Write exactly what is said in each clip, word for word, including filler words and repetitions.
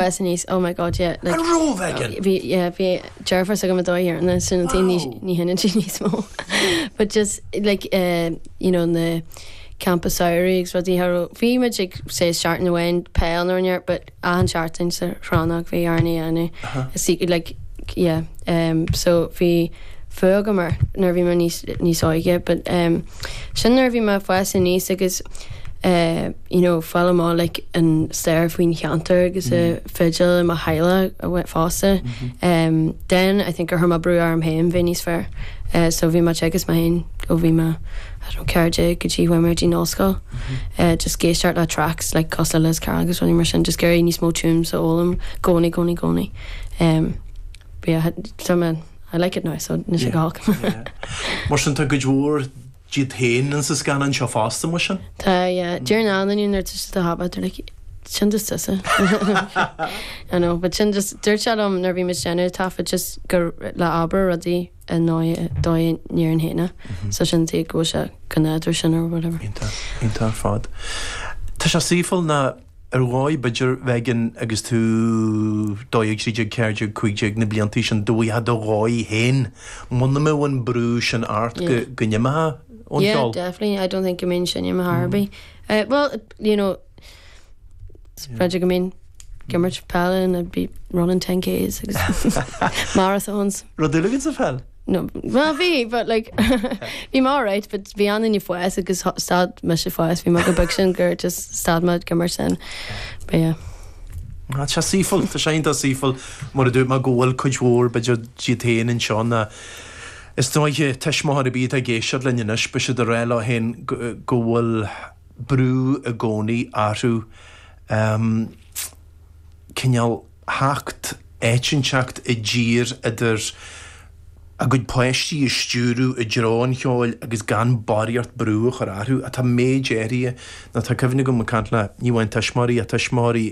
Fás aníos oh my god yeah like An bhí yeah bhí deirfiúr s'agam a dóigh na sin ní ní hinne sí níos mó but just like uh, you know na campa samhraidh agus rudaí har bhí muid ag sé seachtain amháin peil nó near but achan seachtain sa chrannóg bhí arna anú see like yeah um so bhí fuath agam air nuair bhí mé níos níos óige but um sin nuair bhí mé fás aníos agus uh, you know fáil amach like an stair faoin cheantar agus mm. a fidil i mo theaghlach a bhain fosta mm -hmm. um, then I think gur chuir mé brú orm féin bheith níos fearr uh, so bhí mé agus mé féin ó bhí mé ceathair go dtí chuaigh mé dtí an ollscoil uh, just ag éisteacht le tracks like cosúil le Liz Carroll agus rudaí mar sin just ag iarraidh níos mó tunes a fhoghlaim gcónaí gcónaí gcónaí um, but yeah, so man, I like it now so ní sé gach Mar sin tá cuid mhór díot féin in sa scannán seo fosta mar sin? Tá yeah, deir na nuair tá haba like sin just tusa. I know, but sin just dúirt sé liom nuair bhí muid déanamh taifead just gur le abair rudaí i ndóigh níor an héine so sin tí go bhfuil sé go nádúr sin or whatever. Iontach ar fad. Tá sé saoifil na ar dhóigh b'fhéidir bheith agus tú dó dhéag trí déag ceathair déag cúig déag na bliantaí sin dóigh do dhóigh féin muna mbeadh an brú sin ort go go n-imeofá ón Yeah, cheol. definitely. I don't think go mbeinn sin im Harby. Uh, well, you know, yeah. go mbeinn ag imirt peile and I'd be running ten Ks agus marathons. Rud eile sa pheil? No, well bhí, but like bhí mé alright, but bhí an duine fós agus stad mise fós, bhí mé go beag sin gur just stad mé ag imirt sin. But yeah. Tá sé saoifil, tá sé iontach saoifil mar a dúirt mé go bhfuil cuid mhór b'fhéidir díot féin anseo na Is dóiche tuismitheoir ar bith atá ag éisteacht linn anois beidh siad ag rá leo féin go bhfuil brú i gcónaí orthu um, cineál theacht áit inteacht i dtír idir a gcuid páistí a stiúradh i dtreo an cheoil agus gan barraíocht brú a chur orthu atá méid áirithe nó tá cuimhne agam ag caint le ní amháin tuismitheoirí ach tuismitheoirí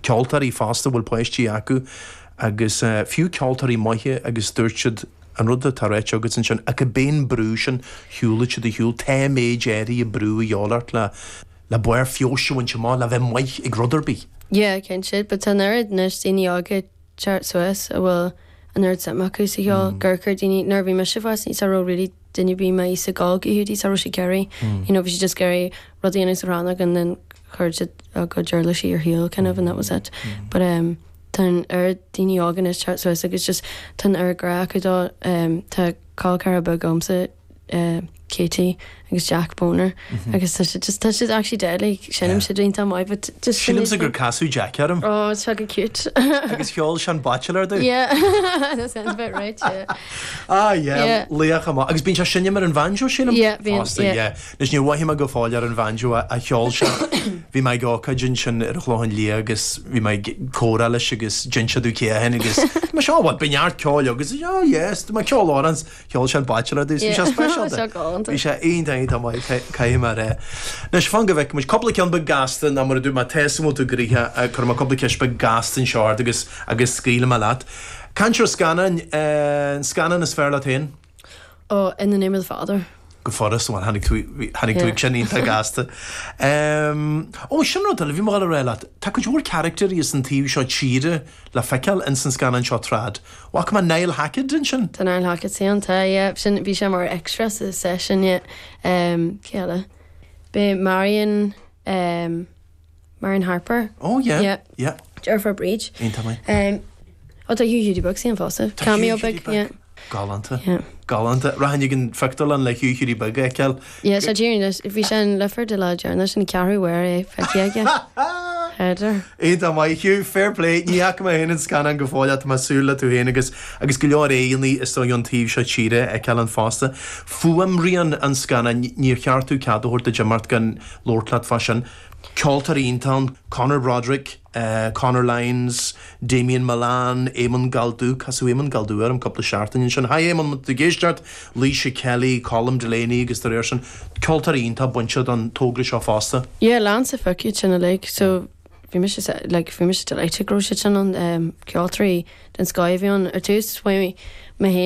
ceoltóirí fosta a bhfuil páistí acu agus uh, fiú ceoltóirí maithe agus dúirt siad an rud atá ráite agat ansin ach cibé an brú sin shiúlaigh siad a shiúl tá méid áirithe brú a dhíobháil ort le le barr feabhais a bhaint amach le bheith maith ag rud ar bith. Yeah, cinnte, but tá an oiread anois daoine óga ag teacht suas a bhfuil an oiread suim acu sa cheol gur chuir daoine nuair a bhí mise fás ní raibh really duine bí mai sa gáil go hiúdaí sa raibh sé iarraidh you know bhí siad just ag iarraidh rudaí a dhéanamh sa rannóg and then chuir siad a gcuid uirlisí ar shiúl kind of and that was it. But um, tá an oiread daoine óga anois ag teacht suas agus just tá an oiread grá acu dó um, tá col ceathrar beag agamsa uh, Katie agus Jack Boner agus tá siad just tá siad actually deadly seinneann siad iontach maith but just Sílimse gur casadh Jack orm Oh, it's fucking cute. agus cheol sé an Bachelor domh. Yeah, that sounds about right. Yeah. Ah yeah, Yeah. laoch amach. Agus bíonn sé seinm ar an bhanjo sílim? Yeah, bíonn, Fosta, yeah. yeah. Anois níor mhothaigh mé go fóill ar an bhanjo a, a cheol sé. Bhí mé ag ócáid ansin ar Chlochán Liath agus bhí mé ag comhrá leis agus d'inis sé domh cé hé agus má seo what bíonn neart ceoil agus oh yes, tá mé ceol orans cheol sé an Bachelor domh. Bhí sé speisialta. Seo galánta. Bhí sé iontach iontach maith caithfidh mé a rá. Anois fan go bhfeicfidh muid cúpla ceann beag gasta ná mar a dúirt mé tá tú gnoitheach chuir mé cúpla ceist beag gasta anseo ort agus agus scaoilfidh mé leat. Cainteoir scannáin eh, an scannán is fearr leat féin? Oh, in the name of the father. Go furas bhuel tháinig tú tháinig tú Yeah. ag sin iontach gasta. Um, ó sin rud eile bhí mé a rá leat, Tá cuid mhór carachtair as an taobh seo tíre le feiceáil in san scannán seo Trad. Bhfaca mé Niall Hackett ansin? Tá Niall Hackett ann tá yeah, sin bhí sé mar extra sa session yeah. Um, cé eile? B'é Marion um, Marion Harper. Oh yeah. Yeah. Yeah. Deirfiúr Bríd. Iontach maith. Um, ó tá Hugh Hughie Beag ann fosta. Tá Cameo Hugh Hughie beag, yeah. Galánta. Yeah. Galánta. Rachainn ag an phictiúrlann le Hugh Hughie Beag a fheiceáil. Yeah, sé dúr bhí sé in Lifford de lá deireanach sin ceathrú uair é feicthe aige. Header. Iontach maith Hugh fair play ní fhaca mé féin an scannán go fóill tá mé ag súil le tú féin agus agus go leor éanna is dóigh an taobh seo tíre a fheiceáil ann fosta. Fuaimrian an scannán níor cheart domh cead a thabhairt duit imeacht gan labhairt leat fá sin. Ceoltóirí iontach Conor Broderick, uh, Conor Lyons, Damien Milan, Eamon Galdú, casadh Eamon Galdú ar an cúpla seachtain sin. Hi Eamon ag éisteacht, Leisha Kelly, Colm Delaney agus de réir sin ceoltóirí iontach bainte don togra seo fosta. Yeah, lán sa fucking sin uilig, so bhí mise se- like bhí mise delighted go raibh siad sin an um, ceoltóirí den scoth a bhí ann ar tús mé mé